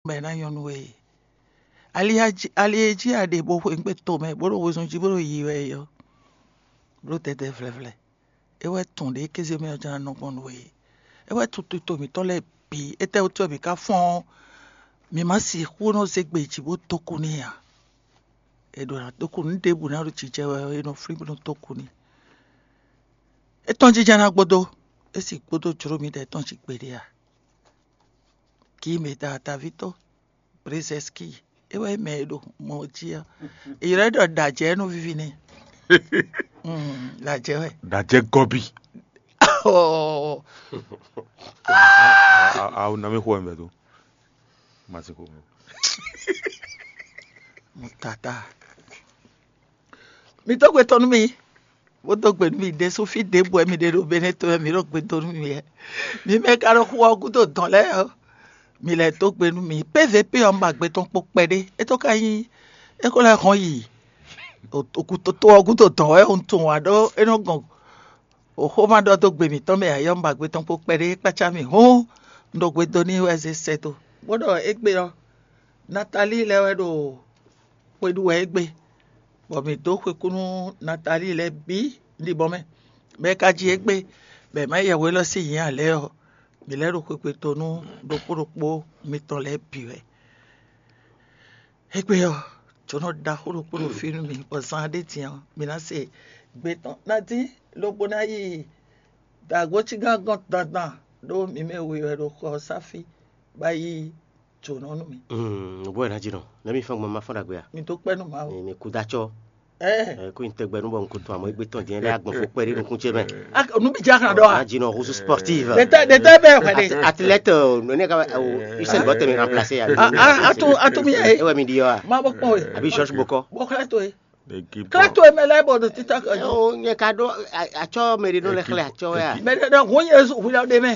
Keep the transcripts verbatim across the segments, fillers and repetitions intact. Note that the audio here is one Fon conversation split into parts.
bɔ è nǎ nyɔ́ nú we. Ali e jí a ɖe bó xweyǐgbe tomɛ bó ɖo wezun jí bó ɖo yiyi wɛ é ɔ́, bló dɛdɛ vlɛvlɛ. É wɛ tun ɖě kéze mɛ ɔ́ ján nɔ gbɔn nú we. É wɛ tun tito mǐtɔn lɛ́ɛ bǐ. Étɛ́wútu wɛ mǐ ka fɔ́n ɔ́, mǐ ma sixú nɔ zé gbe jí bó dó kú n'i ǎ. È ɖǒ ná dó kú nǔ ɖěbǔ ná ɖo jijɛ wɛ ɔ́, è nɔ flín bó nɔ dó kú n'i. É tɔ́n jínjɔ́n ná gbódó, é sì gbódó jló mǐdɛɛ tɔn jí gbeɖé ǎ. Kí mǐ da ataví tó, Brezɛski, é wɛ mɛ e ɖo mɔ jí ɔ́. È ylɔ́ ɛ ɖɔ ɖajɛ nú víví n'i. Ɖajɛ wɛ. Ɖajɛ gɔ́bí. Awu na mí xo ɛmɛ tó. Masi xo. Mutata. Mi dó gbe tɔn nú mì, bó dó gbe nú mì ɖésú fí ɖěbǔ wɛ mi ɖe ɖo Benɛ́ to wɛ mi ɖo gbe dó nú mì wɛ. Mi mɛ ka ɖo xu ɔ́ gúdo dɔn lɛ́ɛ ɔ́, mi lɛ́ dó gbe nú mì. P V P ɔ́, un ba gbe tɔn kpo kpɛɖé. É tó ka nyí é ko lɛ́ hɔn yi oku toto ɔ́ gúdo dɔn wɛ un tunwun ǎ ɖó é nɔ gɔn xóxóma ɖɔ dó gbe mǐtɔn mɛ ǎ, yɔ́ un ba gbe tɔn kpo kpɛɖé kpácá mì hǔn un ɖo gbe dó n'i wɛ zé sɛ́ dó. Bó ɖɔ égbé ɔ́, Natalíi lɛ́ɛ wɛ ɖo xwe ɖu wɛ égbé, bɔ mǐ dó xwekú nú Natalíi lɛ́ɛ bǐ ɖibɔ mɛ. Mɛ e ka ji égbé, bɔ è má yɛ hwe élɔ́ sín nyǐ ǎ lɛ́ɛ ɔ́, mǐ lɛ́ ɖo xwekwe to nú ɖokpó ɖokpó mitɔn lɛ́ɛ bǐ wɛ. Égbé ɔ́, jǒnɔ ɖaxó ɖokpó ɖo fí nú mì, bɔ zan ɖé din ɔ́, mǐ ná se gbe tɔn ná dín, lobo ná yi dǎgbócígán gɔ́n dandan ɖó mǐ mɛ we wɛ ɖo xɔ ɔ́ sá fí, bó yi jǒnɔ nú mì. Nǔgbó wɛ ná ji nɔ, nɛ̌ mi fɔ́n gbɔn ma fɔ́n ɖagbe a? Mi dó kpɛ́ nú Mawu. Mi kú dó acɔ́. Ɛɛ, kó nyi tɛgbɛ nú bɔ un ko tɔn amɔ égbé tɔn din lɛ́ agbɔn fó kpɛɖé nukún ce mɛ. Nú mi jɛ axan ɖɔ a? Ná ji nɔ husu sportive. Ɖetɛ ɖetɛ bɛ xwɛ ɖe. Athlète, ne ka Usain Bolt mi remplacer ya. Atu atu mi yɛ. Ewɛ mi di yɔ a? Ma bɔ kpɔn we. Àbí George Bokɔ. Bɔ xlɛ to ye. Xlɛ to ye mɛ lɛ bɔ ɖo tita kan. Nyɛ ka ɖo atsɔ mɛ ɖe nɔ lɛ xlɛ atsɔ ya. Mɛ ɖe ɖɔ hun Yesu hwilɔ ɖe mɛ.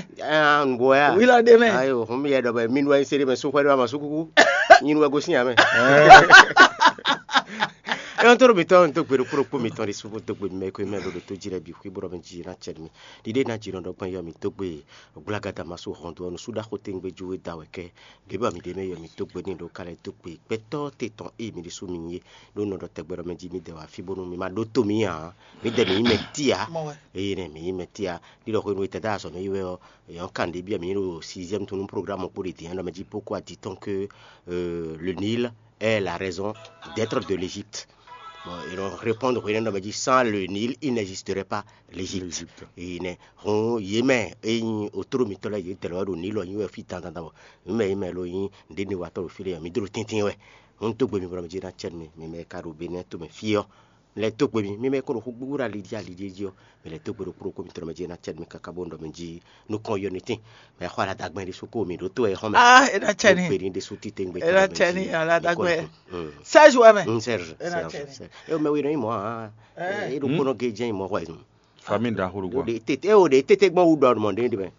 Nugbo ya. Hwilɔ ɖe mɛ. Ayo, hun mi yɛ ɖɔ bɛ mi nu ayi se ɖe mɛ su xwɛ ɖe ma su kuku. Nyi nu wɛ gosín ya mɛ. Ɛyɔntɔ́ ɖo mǐtɔn, un dó gbe ɖokpó ɖokpó mǐtɔn ɖésú bó dó gbe mi mɛ e ko mɛ ɖo ɖo tó jí lɛ́ɛ bǐ xwí bó ɖɔ mɛ jí ná cɛ mi. Ɖiɖe ná jí nɔ ɖɔ gbɔn yɔ mǐ dó gbe gblágada ma sú hɔn dó ɔ́, nǔsúɖaxó tɛ́ngbé jú e da wɛ kɛ́. Ɖěbǔ mi ɖě mɛ yɔ mǐ dó gbe n'i ɖo ka lɛ́ dó gbe gbɛtɔ́ te tɔn ée mi ɖésú mi nyí é, ɖó nɔ ɖɔ tɛgbɛ ɖɔ mɛ jí mi dɛ wá fí bónú mi ma ɖótó mi ǎ. Mi dɛ mi nyí mɛ tíá. Eye nɛ mi nyí mɛ tíá. Ní ɖɔ hwenu e tɛ́ dó azɔ̌ mɛ yi wɛ ɔ́, yɔ̌n kan ɖě byɔ́ mǐ ɖo sixième tɔn nú programme kpó ɖě din ɔ́, ɖɔ mɛ jí beaucoup a dit tant que euh, le Nil est la raison d'être de l'Égypte. Bon, ils vont répondre hwenɛ́nu ɖɔ mɛ jí sans le Nil, il n'existerait pas l'Égypte. Eye nɛ hɔn yě mɛ e nyí otoro mitɔn lɛ́ɛ yě dlɛ̌ wɛ ɖo Nil ɔ́ nyi wɛ fí dandan bɔ mǐ mɛ yě mɛ lo nyí nǔɖé ne watɔ́ ɖo fí lɛ́ɛ mǐ dó ɖo tɛ́ntin wɛ. Hɔn dó gbe mi bɔ mɛ jí ná cɛ mi, mi mɛ ka ɖo Benɛ́ to mɛ fí ɔ́, mi lɛ́ dó gbe mi, mi mɛ ko ɖo xó gbígbó ɖo ali jí ali jí jí ɔ́, mi lɛ́ dó gbe ɖo kplɔ́ kó mitɔn mɛ jí ná cɛ mi káká bó ɖɔ mɛ jí nukɔn yɔ ní tín. Mɛ xɔ aladagbɛn ɖésú kó mi ɖó tó ɛ xɔmɛ. Ah, é ná cɛ ní. Gbé ní ɖésú títí gbé. É ná cɛ ní aladagbɛn. Seize wɛ mɛ. Mm, Serge. É ná cɛ ní. É o mɛ wi nɔ yi mɔ ah. É ɖo kpɔnɔ ge jɛ yi mɔ xɔ yi. Fami da xoro gbɔ. De tete o de tete gbɔ wu dɔ mɔ de de mɛ.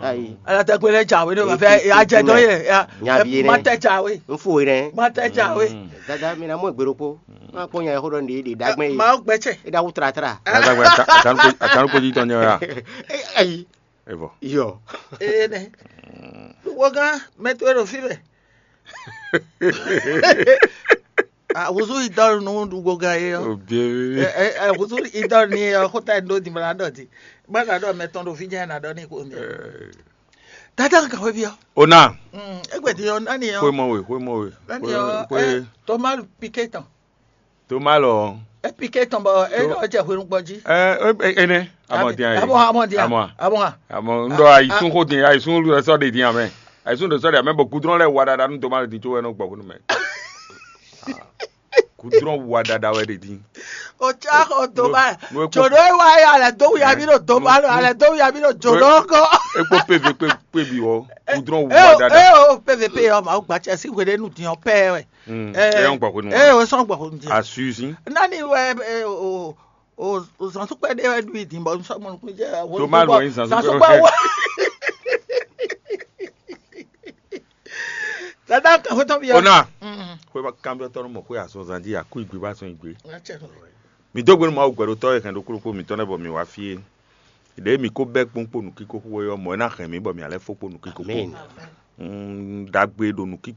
Ayi. Aladagbɛn lɛ ja wɛ ne ma fɛ ajɛ dɔ yɛ. Nyabi yɛ nɛ. Ma tɛ ja wɛ. N fo yɛ nɛ. Ma tɛ ja wɛ. Dada mi na mɔ gbèrò kpo. Ma kpɔ nya yɛ xo dɔ de de dagbɛn yi. Ma gbɛ cɛ. E da wu tratra. Aladagbɛn atanu ko ji tɔn nyɛ ya. Ayi. Evɔ. Yɔ. Ee nɛ. Wogán mɛ towe ɖo fí mɛ. Ahúzú idɔ́ nú wogán é ɔ́. Ahúzú idɔ́ ní é ɔ́ xóta é ɖó dimla ɖɔ dí. Bá ka ɖɔ mɛ tɔn ɖo fí jɛ́n ná ɖɔ ní xó mi. Dada ka hwé byɔ́. Ona. Égbè din ɔ́ nani ɔ́. Xwé mɔ we, xwé mɔ we. Nani ɔ́. Tɔmá piké tɔn. Tó má lɔ. Epike tɔn bɔ e nɔ jɛ hwenu gbɔ jí. Ɛ ɛ ene. Amɔ diyan ye. Amɔ amɔ diyan. Amɔ. Amɔ n dɔ ayisun ko din, ayisun lɛ sɔ de din amɛ. Ayisun de sɔ de amɛ bɔ gudrɔn lɛ wa dada nu tomati din tso wɛ nɔ gbɔ hwenu mɛ. Gudrɔn wa dada wɛ de din. O tsa xɔ doma. Jodo e wa ya alɛ do wuya mi do doma lo alɛ do wuya mi do jodo kɔ. Ekpo pv kpe kpe bi wɔ. Gudrɔn wa dada. E o pv pe yɔ ma o gba cɛ si hwe de nu din ɔ pɛ wɛ. Mm. Eh, é ń gbɔ hwenu ɛ wan. O sɔn gbɔ hwenu jɛ. Asuzi. Nani wɛ eh, o o o zan tó pɛ de wɛ du yi din bɔ sɔn mɔ nukun jɛ. Tó má lɔ yin zan tó pɛ wɛ. Dada kan hwetɔ bi ya. Ona. Mm. Xwe ba kan bi tɔnu mɔ xwe azɔn zan di aku igbe ba sɔn igbe. Nga cɛ no. Mi dó gbénu Mawu gbɛɖotɔ́ e hɛn ɖokpó ɖokpó mitɔn lɛ́ɛ bɔ mi wá fí é. Ɖěe mi ko bɛ́ kpɔ́n kpo nǔkíko xó é ɔ́, mɔ̌ é ná hɛn mǐ bɔ mǐ ná lɛ́ fó kpo nǔkíko xó. Amɛn. ɖagbe ɖo nǔkínkɔ́n